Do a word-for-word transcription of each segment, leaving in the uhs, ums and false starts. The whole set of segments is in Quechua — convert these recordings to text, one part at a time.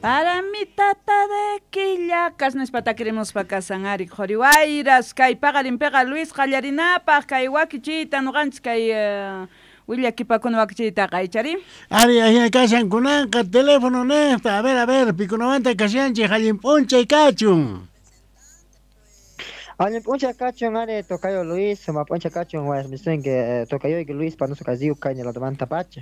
Para mi tata de Quillacas nispa takirimuspa kasan ari qhuriwayras kay paqarinpiqa Luis qallarinapaq kay wakichiyta nuqanchis kay uh, willakipakuna wakichiytaqa ichari. Ari ahina kashan kunanqa teléfono niqta, a ver, a ver, pikunamanta kashanchik allin p'unchay kachun. Allin p'unchay kachun ari tocayo Luis, suma p'unchay kachun wayasmisunki tocayoyki Luis panusu kaziu kayni ladomanta pacha.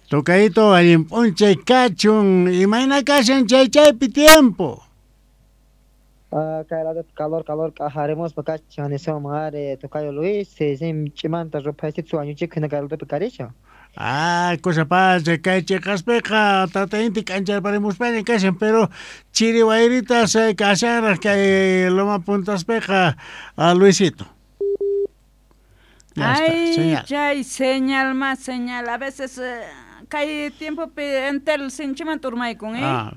Tocayito allin p'unchay kachun, imayna kashan chay chaypi tiempo. Ah, kay lado calor calor k'ajarimuspa kachan nisuma ari tocayo Luis, sim ch'imanta ruphaysitu wañuchik hina kay ladopi karishan. Ah, cosa pacha, kay chiqaspiqa tata inti k'ancharparimuspaña kashan, pero chiri wayritas kashanraq kay Loma Puntaspiqa, Luisito. Ya está, Ay, señal. Chay señal más señal, a veces eh, kay tiempopi entel sinchimanta urmaykun, eh? Ah,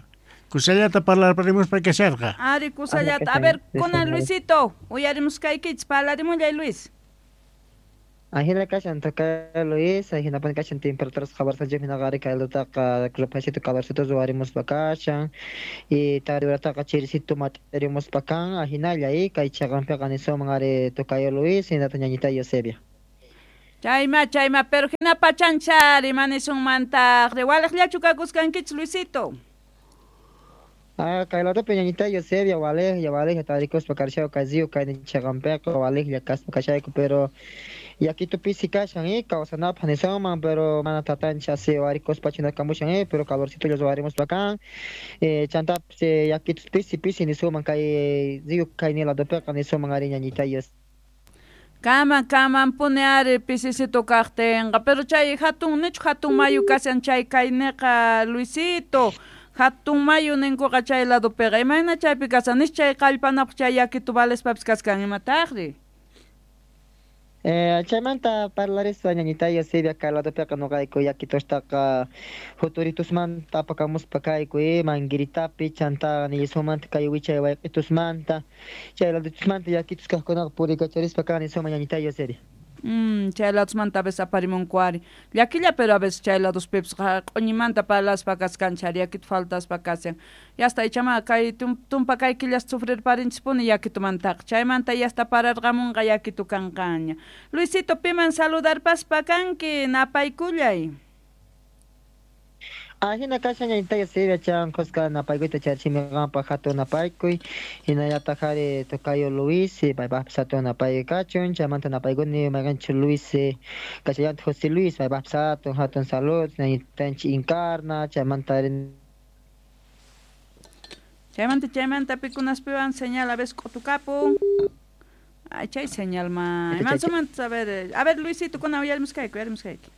kusallata parlarparimuspa kasharqa. Ari kusallata, a ver, kunan Luisito, uyarimuskaykichis, parlarimullay Luis. Ahina kashan tocayo Luis, ahina puni kashan temperaturas khabarsanchik hinaqa ari kay ladotaqa ruphaysitu calorcito ruwarimuspa kashan y tari urataqa chirisitu mat'irimuspa kan ahinalla y kay chaqanpiqa nisuman ari tocayo Luis hinata ñañita Eusebia. Chayma, chayma, pero hina pachanchari manisunmantaq waliqllachu kakuskankichis Luisito. Ah, kay ladopi ñañita Eusebia waliqlla waliqlla tarikuspa karishayku kaziu kay chaqanpiqa waliqlla kaspa kashayku, pero yakitu pisi kashan eh kawsanapaq nisuman, pero mana tatanchik asi warikuspa chinakamushan eh pero calorcito ruwarimuspa kan eh chantapis yakitu pisi pisi nisuman kay ziu kayni ladopiqa nisuman ari ñañita Eusebia. Kaman, kaman puni ari pisisito kaqtinqa, pero chay hatun nichu hatun mayu kashan chay kayniqa Luisito, hatun mayu ninkuqa chay ladopiqa, imayna chaypi kashan, nish chay qallpanapaq chay yakitu valespapis kaskan imataqri. Eh, chaymanta parlarispa ñañita Eusebia kay ladopiqa nuqayku yakitustaqa juturitusmanta apakamuspa kayku eh manguiritapi chanta niyisumanta kay wichay wayq'itusmanta chay ladotusmanta yakitus kaqkunaqa purikacharispa kan nisuma ñañita Eusebia. Mm, chay ladosmanta a veces aparimunku ari llakilla, pero a veces chay ladospipas q'uñimanta parlaspa kaskanchik ari yakitu faltaspa kashan. Yasta ichama kay tumpa kay killas sufrirparinchispuni yakitumantaqa, chaymanta yasta pararqamunqa yakitu kanqaña. Luisito, piman saludarpaspa kanki, napaykullay. Ahina kashan ñañita Eusebia chan kuska napaykuyta charchimiqanpaq hatun napaykuy hinallataq ari tocayo Luis paypaqpis hatun napaykuy kachun chaymanta napaykuni mayqanchik Luis kashallantaq José Luis paypaqpis hatun hatun salud ñañitanchik Encarna chaymanta ari chaymanta chaymanta pikunaspiwan señal a veces k'utukapun. Ay, chay señal ma imansumanta a ver, a ver Luisito kuna uyarimuskayku uyarimuskayki.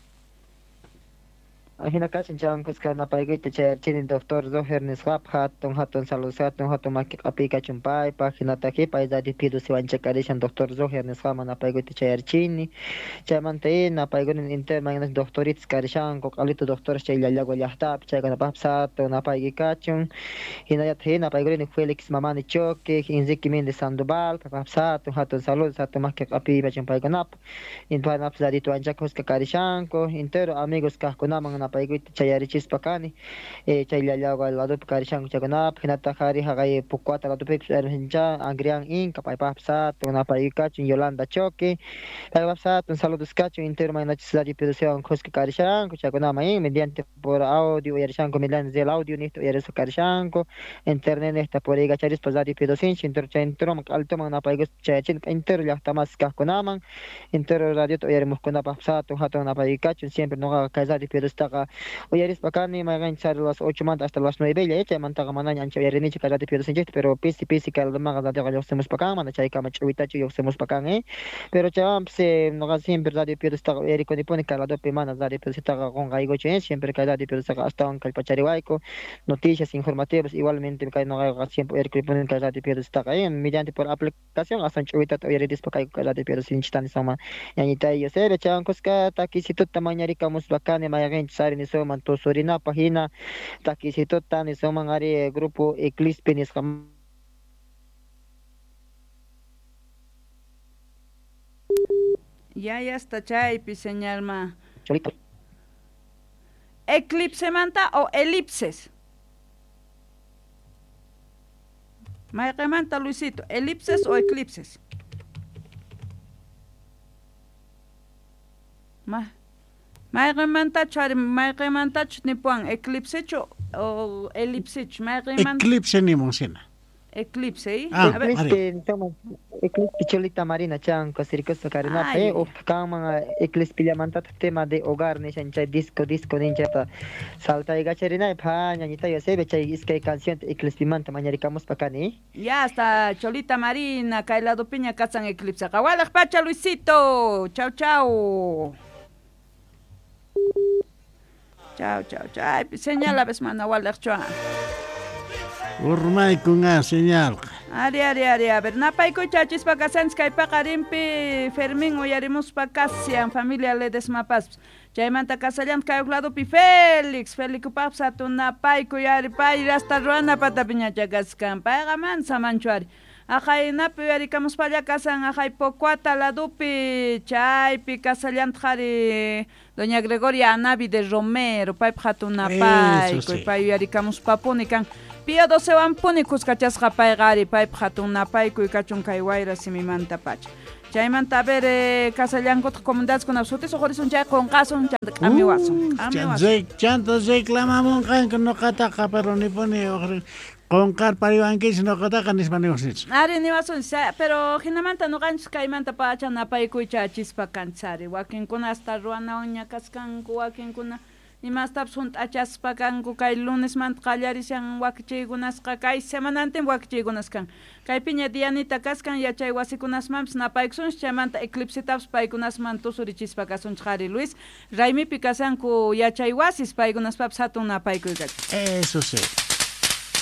Ahina kashan chan kuska napaykuyta chayarchini doctor Roger nisqapaq hatun hatun salud hatun hatun maki q'apiy kachun paypaq hinataq pay radio Pidusiwanchik karishan doctor Roger nisqaman napaykuyta chayarchini chaymanta y napaykuni entero mayqinachus doctoritas karishanku q'alito doctores chay Llallagua llaqtapi chaykunapaqpis hatun napaykuy kachun hinallataq y napaykuni Felix Mamani Choque Enrique Méndez Sandoval paypaqpis hatun hatun salud hatun maki q'apiy kachun paykunapaq paykunapis radito anchaka kuska karishanku entero amigos kaqkunaman napaykuyta chayarichispa kani eh chay Llallagua ladopi karishanku chaykunapaq hinataq ari haqay Pucuata ladopipis hermancha Angrián Inca paypaqpis hatun napaykuy kachun Yolanda Choque paypaqpis hatun saludos kachun entero maynachis radio Pidusiwan kuska karishanku chaykunaman y mediante por audio uyarishanku mediante el audio niqta uyarispa karishanku internet niqta puriykacharispa radio Pidusinchik entero chay enteroman q'alituman napaykuspa chayachini entero llaqtamas kaqkunaman entero radiota uyarimuqkunapaqpis hatun hatun napaykuy kachun siempre nuqaqa kay radio Pidustaqa uyarispa kani mayqanchis ari las ocho manta hasta las nueve chaymantaqa manaña ancha uyarinichu kay radio Pidusinchikta pero pisi pisi kay ladomanqa radioqa lluqsimuspa kan mana chaykama ch'uwitachu lluqsimuspa kan eh pero chaywanpis nuqa siempre radio Pidustaqa uyarikunipuni kay ladopi mana radio Pidusitaqa qunqaykuchu eh siempre kay radio Pidustaqa astawan kallpachariwayku noticias informativas igualmente kay nuqayqa siempre uyarikunipuni kay radio Pidustaqa eh mediante por aplicación astawan ch'uwitata uyaridispa kayku kay radio Pidusinchikta nisuma ñañita Eusebia chaywan kuska takisituta mañarikamuspa kani mayqinchis ari nisuman tusurinapaq hina takisituta nisuman ari grupo Eclispe nisqa. Ya, ya está chaypi señal ma. Eclipse manta o elipses. Mayqinmanta Luisito, elipses o eclipses? Ma mayqinmantachu ari mayqinmantachu nipuwan eclipsechu o elipsechu mayqinmanta? Eclipse nimunsina. Eclipse, ¿eh? Ah, A ver. Eclipse, toma, Eclipse Cholita Marina chanko circoso Karina Ay, eh kanman Eclipse llamantataq tema de hogar nishan chay disco disco ninchata saltaykacharina pha ñañita yosebe chay iskay canción Eclipse manta mañarikamuspa kani. Ya hasta Cholita Marina, kay lado piña kasan Eclipse. Qawalaq pacha Luisito. Chau chau. Chau chau chau. Ay, señala ves mana walaqchu. Urmaykun señalqa. Ari ari ari a ver napaykuy chachispa kasanchis kay paqarinpi Fermín uyarimuspa kasian familia Ledesma Paz. Chaymanta kasallan kay ladopi Félix, Félix hatun napaykuy ari pay hasta ruana patapiñacha kaskan. Payqa mansa manchu ari. Aqaynapi uyarikamuspalla kasan aqay Pocuata ladopi chaypi kasallantaq ari doña Gregoria Anavi de Romero paypaq hatun napaykuy Eso sí. pay uyarikamuspapuni kan. Pío docewan puni kuskachasqa payqa ari paypaq hatun napaykuy kachun kay wayra simimanta pacha. Chaymanta a ver eh, kasallankutaq comunidadeskuna sutis uqurisun chay qunqasun chanta k'amiwasun. K'amiwasun. Chanta reclamamunqanku nuqataqa pero nipuni uqri qunqar pariwankichis nuqataqa nispa niwasunchis. Ari niwasun, pero hinamanta nuqanchis kaymanta pacha napaykuy chachispa kanchari. Wakinkuna hasta ruwanawanña kaskanku, wakinkuna imastapas hunt'achaspa kanku kay lunesmanta qallarishan wakichiykunasqa kay semanantin wakichiykunas kan. Kaypiña Dianita kaskan yachay wasikunasmanpis napaykusunchis chaymanta eclipsetapas paykunasman tusurichispa kasunchis qhari Luis. Raymipi kasanku yachay wasis paykunaspapis hatun napaykuy kachun. Eso sí.